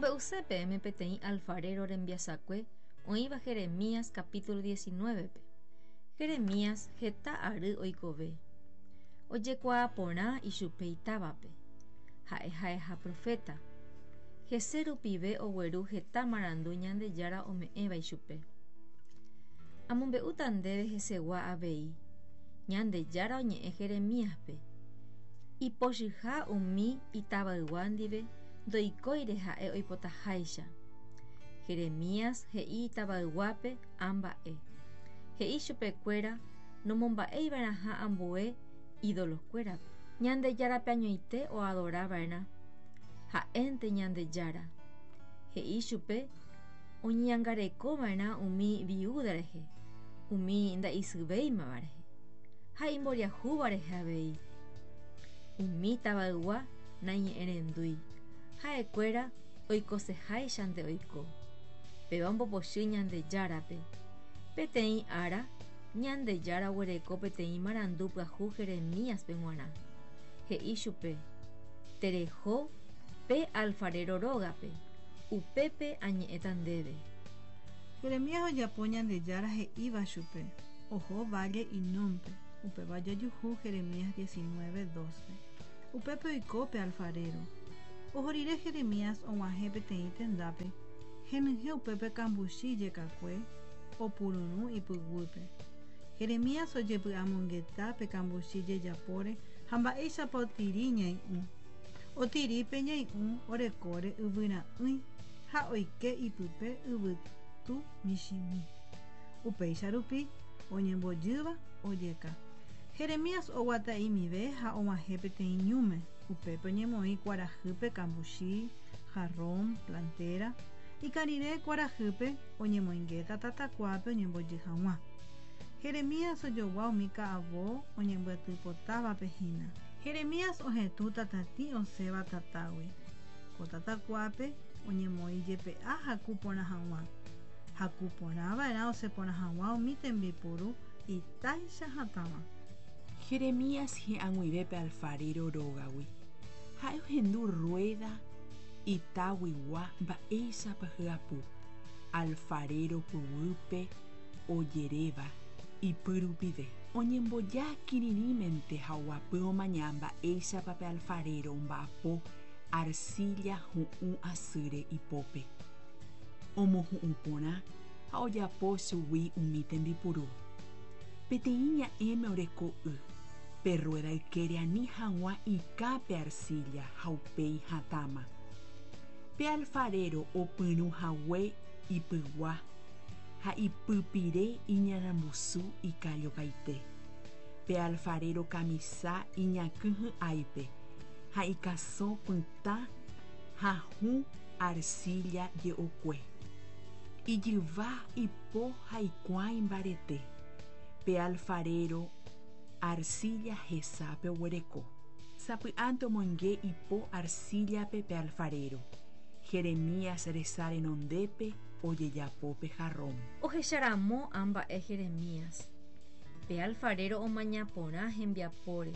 Amombe'use peẽme peteĩ alfarero rembiasakue oĩva Jeremías capítulo 19-pe. Jeremías heta ary oikove. Ojekuaa porã ichupe itávape. Ha'e ha'eha proféta. Hese rupive ogueru heta marandu Ñandejára ome'ẽva ichupe. Amombe'úta ndéve hesegua avei. Ñandejára oñe'ẽ Jeremíaspe. Ipochyha umi itavaygua ndive ndoikóire ha'e oipotaháicha. Jeremías he'i itavayguápe ã mba'e. He'i chupekuéra nomomba'eiva'erãha ambue ídolokuérape. Ñandejárape añoite oadorava'erã, ha'énte Ñandejára. He'i chupe oñeñangarekova'erã umi viúda rehe, umi nda'isyvéimava rehe, ha imboriahúva rehe avei. Umi tavaygua naiñe'ẽrendúi, ha'ekuéra oikoseháichante oiko. Péva ombopochy Ñandejárape. Peteĩ ára, Ñandejára oguereko peteĩ marandu pyahu Jeremíaspe g̃uarã. He'i chupe, Tereho pe alfarero rógape, upépe añe'ẽta ndéve. Jeremías ojapo Ñandejára he'íva chupe, oho válle Hinómpe, upéva ojejuhu Jeremías 19, 2-pe. Upépe oiko pe alfarero. Oho rire Jeremías og̃uahẽ peteĩ tendápe, henyhẽ upépe kambuchi jekakue, opururũ ipyguýpe. Jeremías ojepy'amongeta pe kambuchi jejapóre ha mba'éichapa otiri ñai'ũ. Otiri pe ñai'ũ orekóre yvyra'ỹi ha oike ipype yvytu michĩmi. Upéicha rupi, oñembojýva ojeka. Jeremías oguata'imive ha og̃uahẽ peteĩ ñúme, upépe oñemoĩ kuarahýpe kambuchi, jarrón, plantera, ikã rire kuarahýpe oñemoingéta tatakuápe oñembojy hag̃ua. Jeremías ojogua umi ka'avo oñembyatypotávape hína. Jeremías ohetũ tatatĩ osẽva tatágui. Ko tatakuápe oñemoĩ jepe'a haku porã hag̃ua. Haku porã va'erã osẽ porã hag̃ua umi tembipuru itáicha hatãva. Jeremías hi'ag̃uive pe alfarero rógagui. Ha'e ohendu rruéda itáguigua mba'éichapa hyapu, alfarero pyguýpe ojeréva ipy rupive. Oñemboja kirirĩmente ha oguapy omaña mba'éichapa pe alfarero omba'apo arcilla hu'ũ asýre ipópe. Omohu'ũ porã ha ojapo chugui umi tembipuru. Peteĩ ña'ẽme oreko y, pe rruéda ykére ani hag̃ua ikã pe arcilla ha upéi hatãma. Pe alfarero opyrũ hague ipygua ha ipypire iñarambusu ikallopaite. Pe alfarero kamisa iñakỹ hy'áipe ha ikasõ pytã ha hũ arcilla je'okue. Ijyva, ipo ha ikuã imbarete. Pe alfarero arcilla hesápe oguereko. Sapy'ánte omoinge ipo arcilla-pe pe alfarero. Jeremías resa renondépe ojejapo pe jarrón. Ohecharamo ã mba'e Jeremías. Pe alfarero omaña porã hembiapóre.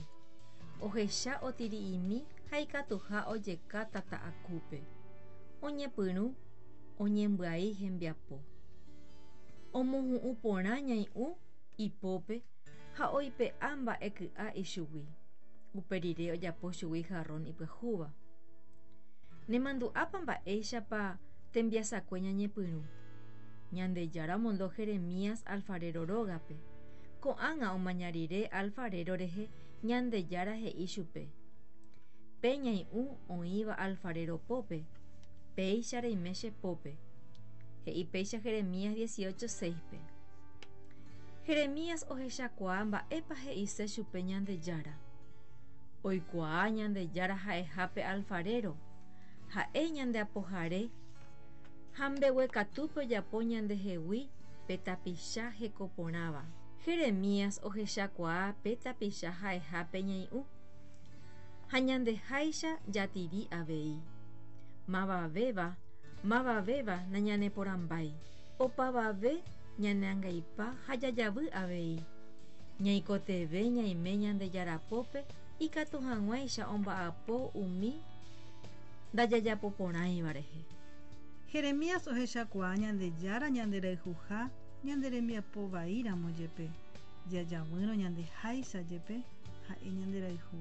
Ohecha otiri'imi ha ikatuha ojeka tata akúpe. Oñepyrũ oñembyai hembiapo. Omohu'ũ porã ñai'ũ ipópe ha oipe'a mba'e ky'a ichugui. Upe rire ojapo chugui jarrón ipyahúva. Nemandu'ápa mba'éichapa tembiasakue ñañepyrũ? Ñandejára omondo Jeremías alfarero rógape. Ko'ág̃a omaña rire alfarero rehe Ñandejára he'i chupe, Pe ñai'ũ oĩva alfarero pópe, péicha reime che pópe. He'i péicha Jeremías 18:6-pe. Jeremías ohechakuaa mba'épa he'ise chupe Ñandejára. Oikuaa Ñandejára ha'eha pe alfarero, ha'e ñande apohare ha mbeguekatúpe ojapo ñandehegui pe tapicha hekoporãva. Jeremías ohechakuaa pe tapicha ha'eha pe ñai'ũ, ha ñandeháicha jatiri avei. Mavavéva, mavavéva nañaneporãmbái. Opavave ñaneangaipa ha jajavy avei. Ñaikotevẽ ñaime Ñandejára pópe ikatu hag̃uáicha omba'apo umi ndajajapoporãiva rehe. Jeremías ohechakuaa Ñandejára ñanderayhuha ñane rembiapo vaíramo jepe, jajavýrõ ñandeháicha jepe, ha'e ñanderayhu.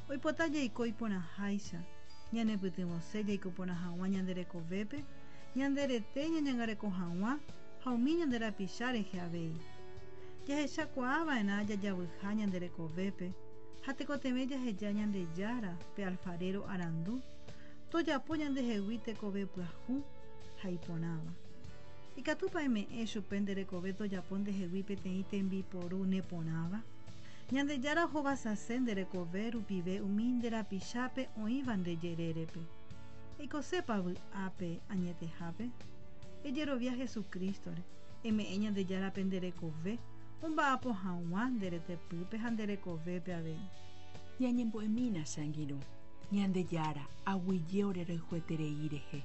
Oipota jaiko iporãháicha, ñanepytyvõse jaiko porã hag̃ua ñande rekovépe, ñande rete ñañangareko hag̃ua ha umi ñande rapicha rehe avei. Jahechakuaava'erã jajavyha ñande rekovépe ha tekotevẽ jaheja Ñandejára, pe alfarero arandu, tojapo ñandehegui tekove pyahu ha iporãva. Ikatúpa eme'ẽ chupe nde rekove tojapo ndehegui peteĩ tembiporu neporãva? Ñandejára ohovasase nde rekove rupive umi nde rapichápe oĩva nde jerérepe. Eikosépa vy'ápe añetehápe? Ejerovia Jesucristo-re, eme'ẽ Ñandejárape nde rekove omba'apo hag̃ua nde retepýpe ha nde rekovépe avei. Ñañembo'emína che angirũ. Ñandejára, aguyje ore rayhueterei rehe.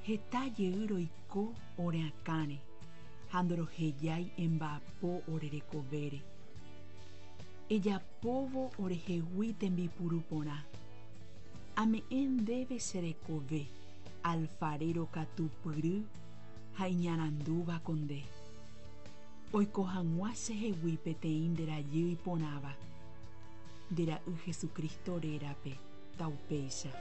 Heta jey roiko ore akãre ha ndorohejái emba'apo ore rekovére. Ejapóvo orehegui tembipuru porã. Ame'ẽ ndéve che rekove, alfarero katupyry ha iñarandúva ko nde. Oiko hag̃ua chehegui peteĩ nde rajy iporãva. Nde Ra'y Jesucristo rérape, taupéicha.